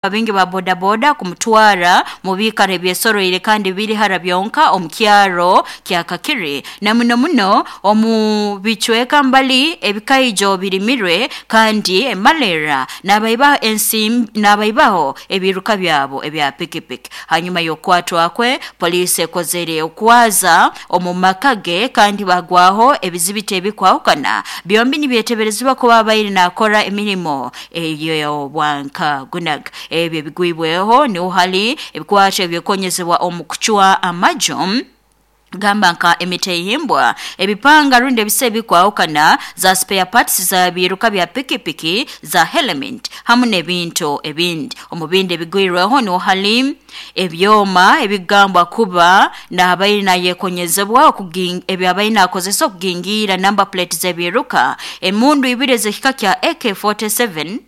Abingi ba bodaboda kumutwara mu biikaro ebyesoroire kandi biri hara byonka omu kyaro kya Kakiri, na muno muno omu bicweka mbali ebikaijo birimirwe kandi emalera n'abaibaho ensimbi n'abaibaho ebiruka byabo ebya pikipiki. Hanyuma y'okukwatwa kwe, poliisi ekozere okwaza omu maka ge kandi bagwaho ebizibiti ebikwahukana. Byombi nibyeteberezibwa kuba abaire naakora emirimo ey'obwankagunaga. Ebyo ebigwibweho niho hali ebikwato ebyekonyezebwa omu kucwa amaju, gamba nka emitehimbwa, ebipanga rundi ebisa ebikwahukana, za spare parts za biruka bya pikipiki, za helmet hamu n'ebintu ebindi. Omu bindi ebigwirweho niho hali ebyoma ebigambwa kuba nabaire nayekonyezebwa ebyabaire nakozesa okugingiira number plate z'ebiruka, emundu ibiri ez'ekika kya AK47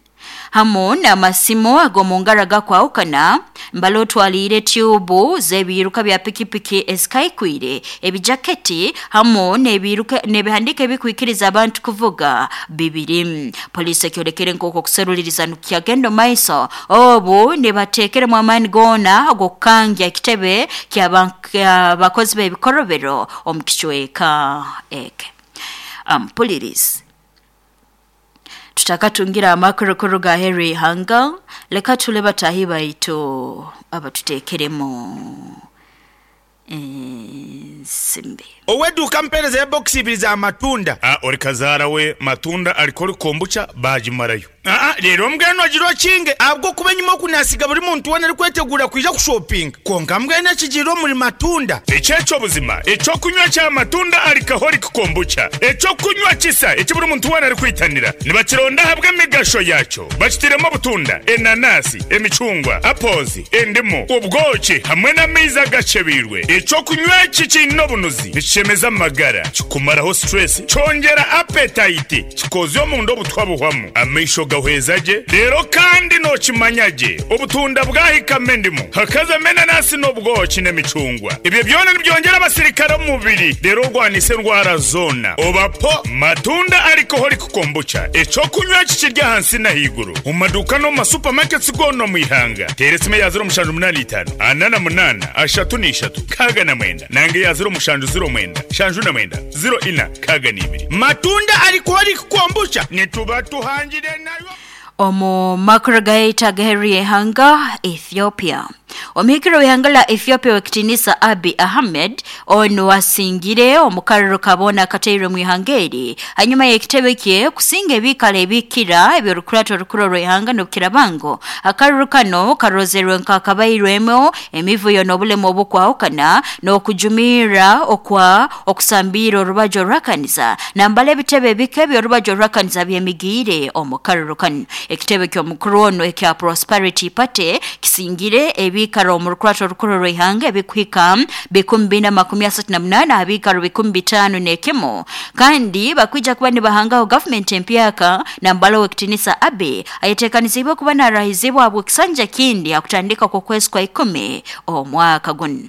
hamu n'amasimu ag'omu ngaro agakwahukana, mbali otwaliire tyubu z'ebiiruka bya pikipiki ezikaikwire, ebijaketi hamu n'ebiiruka n'ebihandiiko ebikwikiriza abantu kuvuga bibiri. Poliisi ekyolekere nk'oku okuseruliriza nikukyagenda omu maiso obu nibateekeremu amaani goona ag'okukangya ekitebe ky'abakozi b'ebikorobero omu kicweka eke. Ampulirizi, tutakatungire amakuru kuruga aheeru y'ihanga, leka tule bataahi baitu abatuteekeremu ensimbi. Ow'eduuka mpeereza ya bokisi ibiri za matunda. A Ori kazaara we matunda alcoholic kombucha baagimarayo. Aa Reero mbwenu ogira okinge, ahabw'okuba enyima oku naasiga buri muntu weena arikweteguura kwija kushopinga. Kwonka mbwenu ekigiire omuri matunda. Eki eky'obuzima, eky'okunywa kya matunda alcoholic kombucha, eky'okunywa kisa eki buri muntu weena arikwitanira. Nibakironda ahabw'emigasho yaakyo. Bakitairemu obutunda, enanasi, emicungwa, apples, endimu, obwoki hamwe n'amaizi agakyebeirwe. Eky'okunywa eki kiine obunuzi, nikishemeza amagara, kikumaraho stress, kyongyera appetite, kikozya omunda obutwa buhwamu, amaisho gahweza gye, reero kandi nookimanya gye obutunda bwahikamu endimu, hakazamu enanasi n'obwoki n'emicungwa. Ebyo byona nibyongyera abasirikare omu mubiri reero orwanise endwara zoona. Oba po Matunda Alcoholic Kombucha, eky'okunywa eki kiri ahansi n'ahaiguru omu maduuka n'omu ma supermarkets goona omu ihanga. Teera esimu eya 0785 48 33 69 nanga eya 0709 79 04 62. Matunda Alcoholic Kombucha nituba tuhangire nayo. Omu makuru gaitu ag'aheeru y'ihanga, Ethiopia. Omuhikirwe w'ihanga lya Ethiopia ow'ekitiinisa Abiy Ahmed onu asingire omu karuru ka boona akatairwe omu ihanga eri hanyuma y'ekitebe kye kusinga ebiikaro ebikira eby'orukurato orukuru orw'ihanga n'obukiraaba ngu akaruru kanu karozerwe nk'akabairwemu emivuyo n'obulemu obukwahukana n'okujumirra okwa okusambiire orubaju oruhakaniza nambara ebitebe ebike eby'orubaju oruhakaniza byemigiire omu karuru kanu. Ekitebe ky'omukuru onu ekya Prosperity Party kisingire ebiikaro omu rukurato orukuru orw'ihanga ebikuhika 438 aha biikaro 501, kandi bakwija kuba nibahangaho gavumenti empyaka nambara ow'ekitiinisa Abiy ayeteekaniziibwe kuba naarahizibwa habw'ekisanja kindi ha kutandika kw'okwezi kwa ikumi omwaka gunu.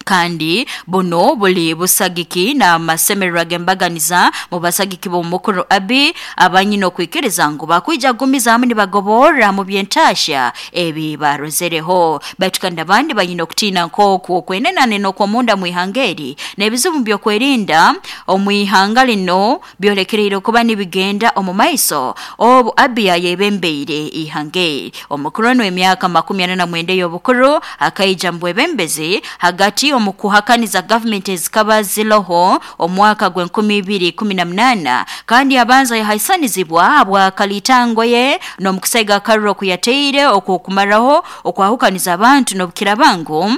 Kandi buno buli busagiki n'amasemererwa g'embaganiza mu basagiki b'omukuru Abiy abanyine okwikiriza ngu bakwija kugumizaamu nibagoborra mu by'entaahya ebi baarozereho. Baitu kandi abandi banyine okutiina nk'oku okwenenane n'okw'omunda mu ihanga eri n'ebizibu by'okwerinda omu ihanga linu byolekereire kuba nibigenda omu maiso obu Abiy ayebembeire ihanga eri. Omukuru onu w'emyaka 49 ey'obukuru akaija mu bwebembezi hagati omu kuhakaniza gavumenti ezikaba ziroho omwaka gw'e2018, kandi abanza yahaisanizibwa habw'akalitango ye n'omukusaiga akaruru oku yataire okw'okumaraho okwahukaniza abantu, n'obukiraaba ngu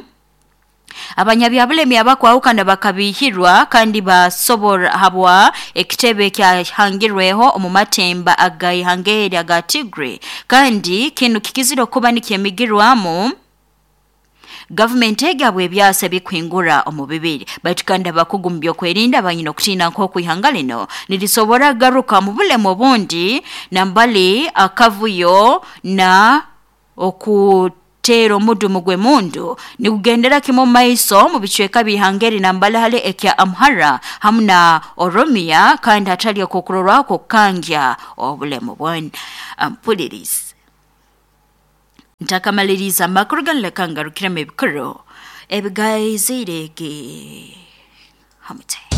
abanyabyabulemi abakwahukana bakabiihirwa kandi basobora habwa ekitebe ekyahangirweho omu matemba ag'ihanga eri aga Tigray, kandi kinu kikizire okuba nikyemigirwamu gavumenti egi habw'ebyasa ebikuhingura omu bibiri. Baitu kandi abakugu mu by'okwerinda banyine okutiina nk'oku ihanga lino nirisobora kugaruka mu bulemu obundi nambali akavuyo na okuteera omudumu gw'emundu nigugendera kimu omu maiso mu bicweka by'ihanga eri nambali hali ekya Amhara hamu na Oromia, kandi hatali okw'okurorwaho kw'okukangya obulemu bwona. Mpuliriza. Ntakamaliriza amakuru ganileka ngarukiremu ebikuru ebigaizirege hamute.